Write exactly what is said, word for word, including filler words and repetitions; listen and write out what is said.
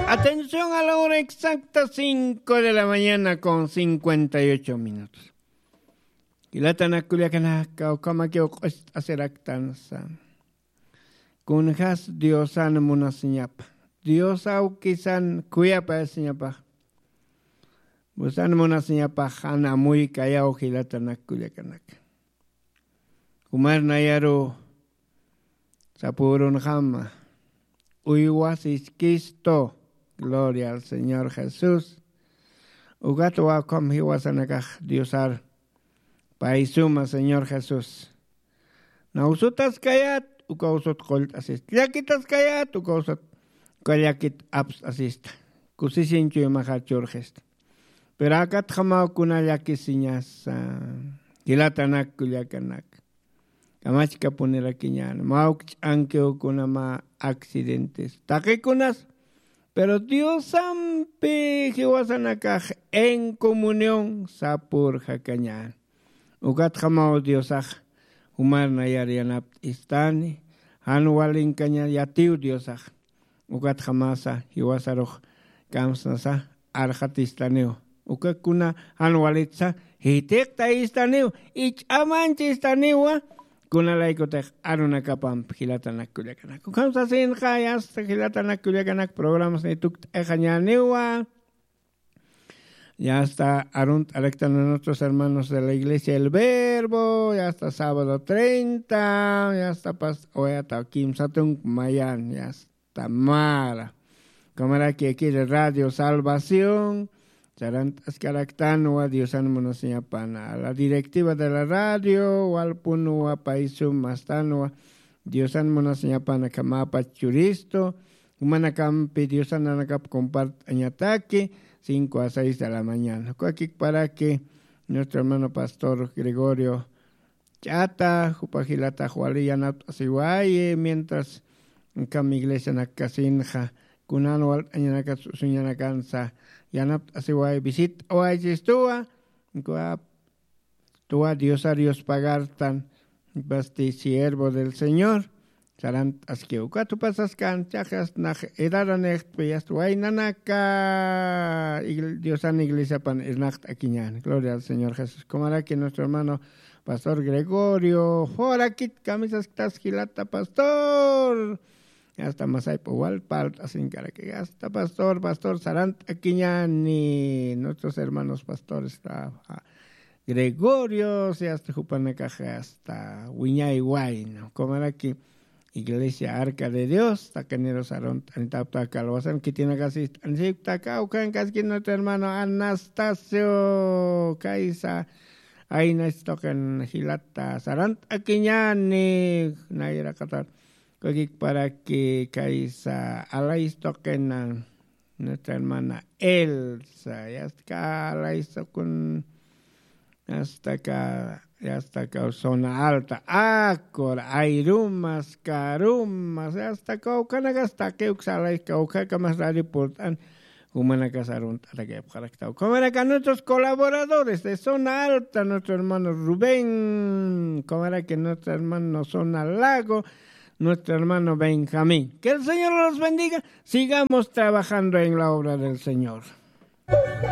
Atención a la hora exacta, cinco de la mañana con cincuenta y ocho minutos. Jilatanak kullakanaka, ukhamakiw q'ust'asiraktansa. Kunjas Diosan munasiñapa. Dios awkisan khuyapayasiñapa. Busan munasiñapa, jan amuykayaw jilatanak kullakanaka. Jumar nayaru sapürunxama, uywa siskistu, gloria al Señor Jesús. Ukat ukham jiwasanakax Diosar pay suma Señor Jesús. Naw sutaskayät, ukaw sut qullt'asista. Llakitaskayät, ukaw sut, uka llakit apst'asista. Kusisiñ chuymaxar churxista. Pero akatjamaw kuna llakisiñasa, jilatanak kullakanak. Kamachkapunirakiñäni, mä uk ch'ankiw kuna mä accidentes. Taqikunas, pero Diosampi jiwasanakax en comunión sapürjakañäni. Ukatjamaw Diosax jumar nayar yanapt'istani, jan walinkaña yatiw Diosax. Ukatjamasa jiwasarux kamsnasa arxatistaniwa. Uka kuna jan walitsa jitiqtayistaniwa, ich'amanchistaniwa, kunalaykutix arunakapamp jilatanak kullakanak. Ukham sasinxa, yasta jilatanak kullakanak, programas ni tukt'axañäniwa. Ya está arunt'araktan nuestros hermanos de la iglesia El Verbo, ya está sábado treinta, ya está pas-, oyata kimsa tunk mayan, ya está mara. Kamaraki aquí de Radio Salvación, sarant'askaraktanwa Diosan munasiñapana. A la directiva de la radio, walpunwa pay sumastanwa, Diosan munasiñapana kamapach churistu, jumanakampi Diosan nanakap compart'añataki, cinco a seis de la mañana. Ukakikparaki nuestro hermano pastor Gregorio Ch'ata, jupa jilatax wali yanapt'asiwayi, mientras kam iglesianak kasinxa, kunan walt'añanakat suñanakansa, yanapt'asiwayi, visit'awaychistuwa, ukap tuwa Diosar yuspagartan, pasti siervo del Señor, sarant'askiw. Ukat jupasaskan, chaqas nax edaranixtpi, yasta waynanaka, igl-, Diosan iglesiapan irnaqt'akiñäni. Gloria al Señor Jesús. Kumaraki nuestro hermano pastor Gregorio, jorakit kamisasktas jilata pastor. Yasta masaypa wal parlt'asinkaraki. Yasta pastor, pastor, sarant'akiñäni, nuestros hermanos pastores, ah, Gregorio, si hasta jupanakax hasta wiñay wayna. Kumaraki Iglesia Arca de Dios, taqinirus arunt'anitapta kalwasan, khitinakasist'anisiktaka, ukankaski nuestro hermano Anastasio, kaysa, ayna istuqin jilata, sarant'akiñäni, nayraqatar, ukakikparaki kaysa, alaystuqin, nuestra hermana Elsa, ya está acá, Alaisa con, ya está acá, ya está acá, zona alta, Acor, Airumas, Carumas, ya está acá, Ucanagas, Taqueuxa, Alaisa, Ucacamas, Radio Portán, Jumanacasaron, Ataque, Paractao. Como era que nuestros colaboradores de zona alta, nuestro hermano Rubén, como era que nuestro hermano zona lago, nuestro hermano Benjamín. Que el Señor los bendiga. Sigamos trabajando en la obra del Señor.